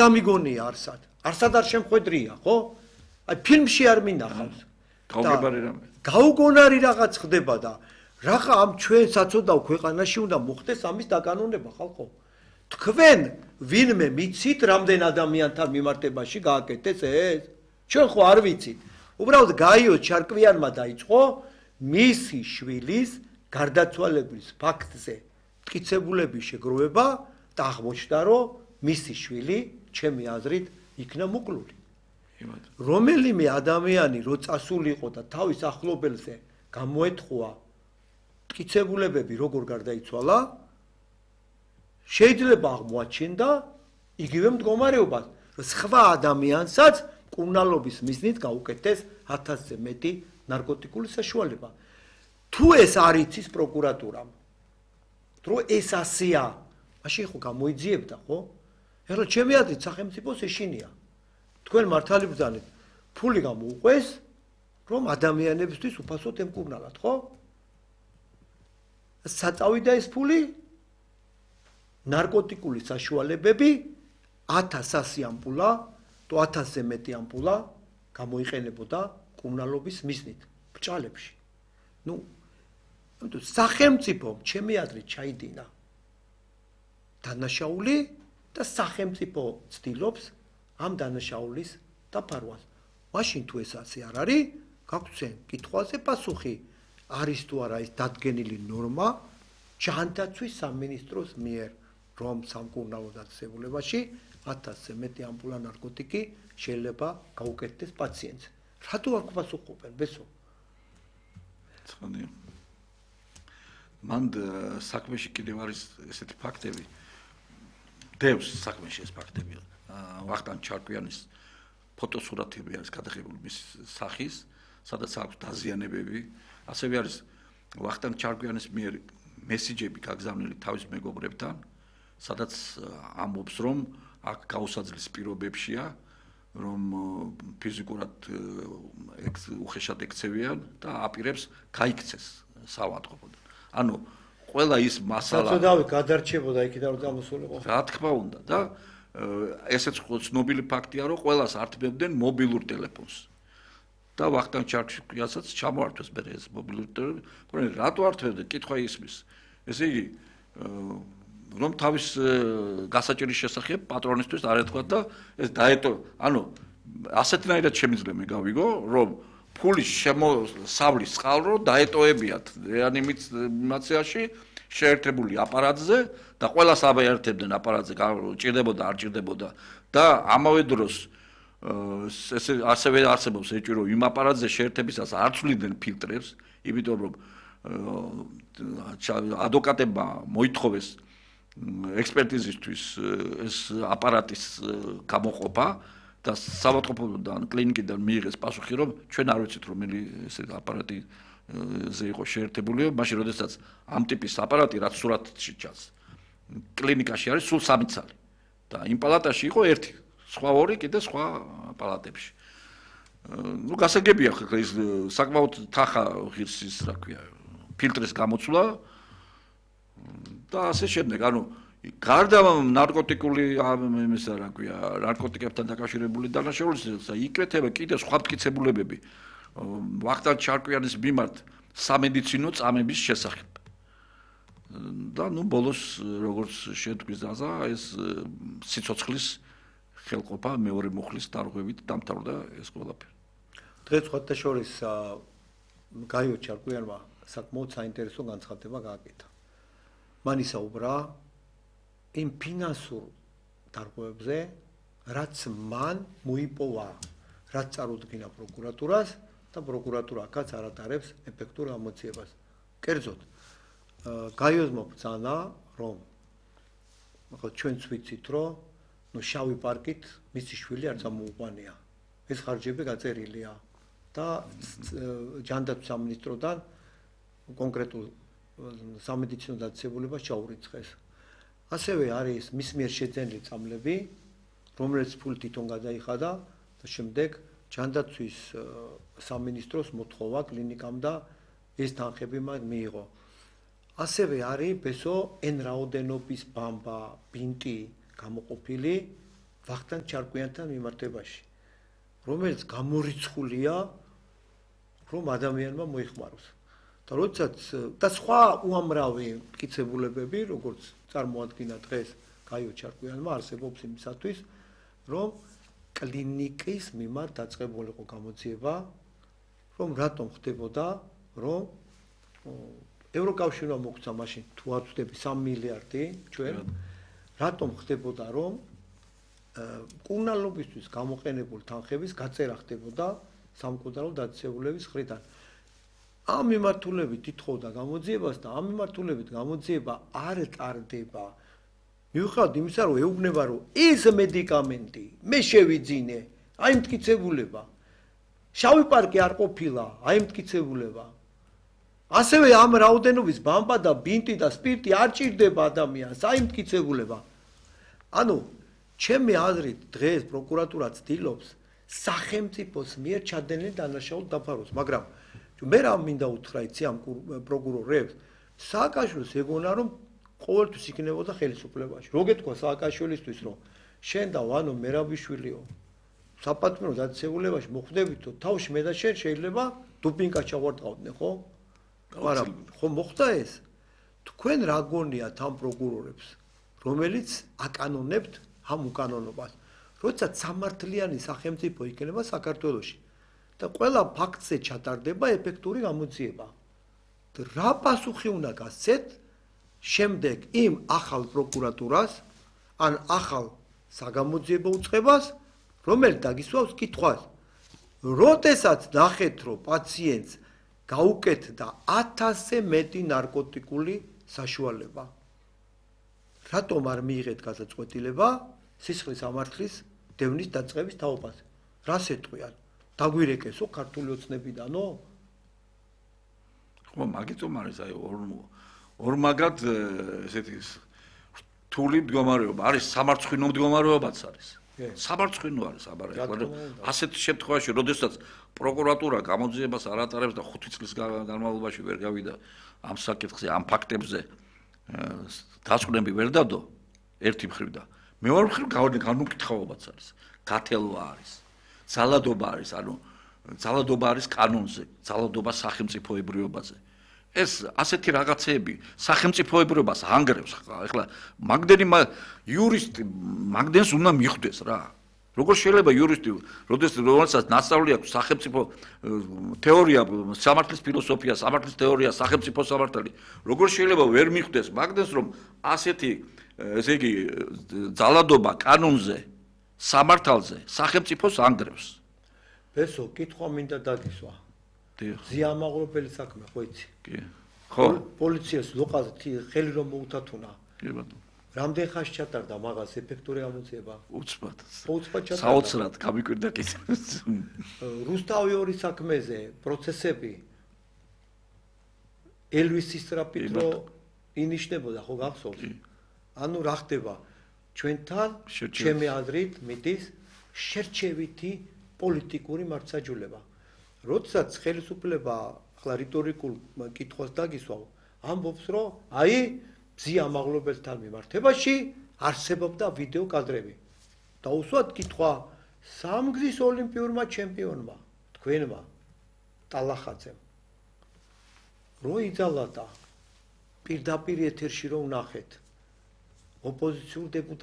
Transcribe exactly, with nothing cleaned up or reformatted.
გამიგონია არსად. არსად არ შემხვედრია, ხო? აი ფილმში არ მინახავს. გაუგებარი რამე. გაუგონარი რაღაც ხდება და რაღა ამ ჩვენ საწოდავ ქვეყანაში უნდა მოხდეს ამის დაკანონება ხალხო. თქვენ ვინმე მიცით რამდენ ადამიანთან მიმართებაში გააკეთეს ეს? ჩვენ ხო არ ვიცით. უბრალოდ გაიო ჩარკვიანმა დაიწყო მისი შვილის გარდაცვალების ფაქტზე მტკიცებულების შეგროვება და აღმოჩნდა რომ მისი შვილი ჩემი აზრით იქნა მოკლული. რომელიმე ადამიანი რო წასულიყო და თავის ახლობელზე გამოეთხოვა მტკიცებულებები როგორ გარდაიცვალა შეიძლება აღმოაჩინდა იგივე მდგომარეობას რომ სხვა ადამიანსაც კუნალობის მიზნით გაუკეთეს ათასზე მეტი ნარკოტიკული საშუალება. თუ ეს არ იცის პროკურატურამ თუ ეს ასეა მაშინ ხო გამოიძიებდა ხო? ეხლა ჩემი აზრით სახელმწიფოს ეშინია. თქვენ მართალი ბრძანეთ ფული გამოუყვეს რომ ადამიანებისთვის უფასოდ ემკურნალათ, ხო? საწავიდა ეს ფული ნარკოტიკული საშუალებები ათასი ამპულა თუ ათასზე მეტი ამპულა გამოიყენებოდა კურნალობის მიზნით ბჭალებში. ნუ სახელმწიფო ჩემი აზრით ჩაიდინა დანაშაული და სახელმწიფო ცდილობს ამ დანაშაულის დაფარვას. მაშინ თუ ეს ასე არ არის, გაგვცენ კითხვაზე პასუხი არის თუ არა ეს დადგენილი ნორმა ჯანდაცვის სამინისტროს მიერ, რომ სამკურნალო დაწესებულებაში ათასზე მეტი ამპულა ნარკოტიკი შეიძლება გაუკეთდეს პაციენტს. რატო არ გვპასუხობენ, ბესო? ცხადია. მან საქმეში კიდევ არის ესეთი ფაქტები. დევს საქმეში ეს ფაქტები. ვახტანგ ჩარკვიანის ფოტოსურათები არის გადაღებული მის სახის, სადაც აქვს დაზიანებები. ასევე არის ვახტანგ ჩარკვიანის მიერ მესიჯები გაგზავნილი თავის მეგობრებთან, სადაც ამბობს, რომ აქ გაუსაძლის პირობებშია, რომ ფიზიკურად უხეშად ექცევიან და აპირებს გაიქცეს საავადმყოფოდან. ანუ ყველა ის მასალა საწოდავი გადარჩებოდა იქიდან რომ გამოსულიყო. რა თქმა უნდა და ესეც ცნობილი ფაქტია, რომ ყველას ართმევდნენ მობილურ ტელეფონს. და ვახტანგ ჩარკვიანსაც ჩამოართვეს მე ეს მობილური ტელეფონი. რატო ართმევდნენ? კითხვა ისმის. ესე იგი რომ თავის გასაჭირის შესახებ პატრონისთვის არ ეთქვა და ეს დაეტო, ანუ ასეთნაირად შემიძლია მე გავიგო, რომ ფულის შემოსავლის წყალრო დაეტოებიათ რეანიმაციაში შეერთებული აპარატზე და ყველას აბაერთებდნენ აპარატზე, ჭირდებოდა არ ჭირდებოდა და ამავე დროს ესე ასევე არსებობს ეჭვი, რომ იმ აპარატზე შეერთებისას არ ცვლიდნენ ფილტრებს, იმიტომ რომ ადვოკატებმა მოითხოვეს ექსპერტიზისთვის ეს აპარატის გამოყოფა და საავადმყოფოდან კლინიკიდან მიიღეს პასუხი, რომ ჩვენ არ ვიცით რომელი ესე აპარატიზე იყო შეერთებული, მაშინ როდესაც ამ ტიპის აპარატი რაც სურათში ჩანს კლინიკაში არის სულ სამი ცალი და იმ პალატაში იყო ერთი, სხვა ორი კიდე სხვა პალატებში. ნუ გასაგებია ხა ის საკმაოდ თხა ღირსის რა ქვია ფილტრის გამოცვლა და ასე შემდეგ, ანუ გარდა ნარკოტიკული ამისა რა ქვია, ნარკოტიკებთან დაკავშირებული დანაშაულისა, იკეთება კიდე სხვა მტკიცებულებები ვახტანგ ჩარკვიანის მიმართ სამედიცინო წამების შესახებ. და ნუ ბოლოს როგორც შედგვის და ეს სიცოცხლის ხელყოფა მეორე მუხლის დარღვევით დამთავრდა ეს ყველაფერი. დღეს სხვათა შორის გაიო ჩარკვიანმა საკმაოდ საინტერესო განცხადება გააკეთა. მან ისაუბრა იმ ფინანსურ დარღვევებზე, რაც მან მოიპოვა, რაც წარუდგინა პროკურატურას და პროკურატურა აქაც არ ატარებს ეფექტურ ამოძიებას. კერძოდ, გაიოზმა ბრძანა, რომ ჩვენც ვიცით, რომ ნუ შავი პარკით მისი შვილი არ წამოუყვანია. ეს ხარჯები გაწერილია და ჯანდაცვის სამინისტროდან კონკრეტულ სამედიცინო დაწესებულებას ჩაურიცხეს. ასევე არის მის მიერ შეძენილი წამლები, რომელიც ფული თვითონ გადაიხადა და შემდეგ ჯანდაცვის სამინისტროს მოთხოვა კლინიკამ და ეს თანხები მან მიიღო. ასევე არის ბესო ენ რაოდენობის ბამბა, ბინტი გამოყოფილი ვახტანგ ჩარკვიანთან მიმართებაში, რომელიც გამორიცხულია, რომ ადამიანმა მოიხმაროს. და როდესაც და სხვა უამრავი მტკიცებულებები, როგორც წარმოადგინა დღეს გაიო ჩარკვიანმა, არსებობს იმისათვის, რომ კლინიკის მიმართ დაწყებულიყო გამოძიება, რომ რატომ ხდებოდა, რომ ევროკავშირმა მოგცა მაშინ თუ არ ვწდები სამი მილიარდი ჩვენ, რატომ ხდებოდა, რომ კურნალობისთვის გამოყენებული თანხების გაწერა ხდებოდა სამკვდარო დაწესებულების მხრიდან. ამ მიმართულებით ითხოვდა გამოძიებას და ამ მიმართულებით გამოძიება არ ტარდება. მიუხედავად იმისა, რომ ეუბნება, რომ ეს მედიკამენტი მე შევიძინე, აი მტკიცებულება. შავი პარკი არ ყოფილა, აი მტკიცებულება. ასევე ამ რაოდენობის ბამბა და ბინტი და სპირტი არ ჭირდება ადამიანს, აი მტკიცებულება. ანუ ჩემი აზრით დღეს პროკურატურა ცდილობს სახელმწიფოს მიერ ჩადენილი დანაშაული დაფაროს, მაგრამ მე რა მინდა უთხრა იცი ამ პროკურორებს, სააკაშვილს ეგონა რომ ყოველთვის იქნებოდა ხელისუფლებაში. რო გეთქვა სააკაშვილისთვის, რომ შენ და ვანო მერაბიშვილიო საპატიმრო დაწესებულებაში მოხვდებითო, თავში მე და შენ შეიძლება დუპინკა ჩავარდყავდნენ, ხო? მაგრამ ხო მოხდა ეს? თქვენ რა გონიათ ამ პროკურორებს, რომელიც აკანონებთ ამ უკანონობას, როდესაც სამართლიანი სახელმწიფო იქნება საქართველოში და ყველა ფაქტზე ჩატარდება ეფექტური გამოძიება. რა პასუხი უნდა გასცეთ შემდეგ იმ ახალ პროკურატურას, ან ახალ საგამოძიებო უწყებას, რომელიც დაგისვავს კითხვას, როდესაც ნახეთ, რომ პაციენტს გაუკეთდა ათასზე მეტი ნარკოტიკული საშუალება. რატომ არ მიიღეთ გადაწყვეტილება სისხლის ამართლის დევნის დაწყების თაობაზე? რას ეტყვიან? დაგვირეკესო ქართული ოცნებიდანო? ხო, მაგიტომ არის აი ორმაგად ესეთი რთული მდგომარეობა, არის სამარცხვინო მდგომარეობაც არის. სამარცხვინო არის აბარე. ასეთ შემთხვევაში, როდესაც პროკურატურა გამოძიებას არ ატარებს და ხუთი წლის განმავლობაში ვერ გავიდა ამ საკითხზე, ამ ფაქტებზე დასკვნები ვერ დადო ერთი მხრივ და მეორე მხრივ განუკითხავობაც არის. გათელვა არის. ძალადობა არის, ანუ ძალადობა არის კანონზე, ძალადობა სახელმწიფოებრიობაზე. ეს ასეთი რაღაცეები სახელმწიფოებრიობას ანგრევს. ეხლა მაგდენი იურისტი მაგდენს უნდა მიხვდეს რა. როგორ შეიძლება იურისტი, როდესაც ნასწავლი აქვს სახელმწიფო თეორია, სამართლის ფილოსოფია, სამართლის თეორია, სახელმწიფო სამართალი, როგორ შეიძლება ვერ მიხვდეს მაგდენს, რომ ასეთი ესე იგი ძალადობა კანონზე, სამართალზე, სახელმწიფოს ანგრევს. ბესო, კითხვა მინდა დაგისვა. ზიამაღლობელი საქმე, ხო იცი? კი. ხო. პოლიციას ლოყაზე ხელი რომ მოუთათუნა. კი ბატონო. რამდენ ხანს ჩატარდა მაგას ეფექტური გამოძიება? უცბად. უცბად ჩატარდა. საოცრად გამიკვირდა კი. რუსთავი ორი საქმეზე პროცესები ელვისის ტრაპით რო ინიშნებოდა, ხო გახსოვს? ანუ რა ხდება? ჩვენთან ჩემი აზრით მიდის შერჩევითი პოლიტიკური მართლმსაჯულება. როდესაც ხელისუფლება ახლა რიტორიკულ კითხვას დაგისვავ, ამბობს, რომ აი ზიამაღლობელთან მიმართებაში არსებობდა ვიდეო კადრები. დაუსვათ კითხვა სამგზის ოლიმპიურმა ჩემპიონმა, თქვენმა, ტალახაძემ. რო იძალა და პირდაპირ ეთერში რომ ნახეთ ოპოზიციურ დეპუტატს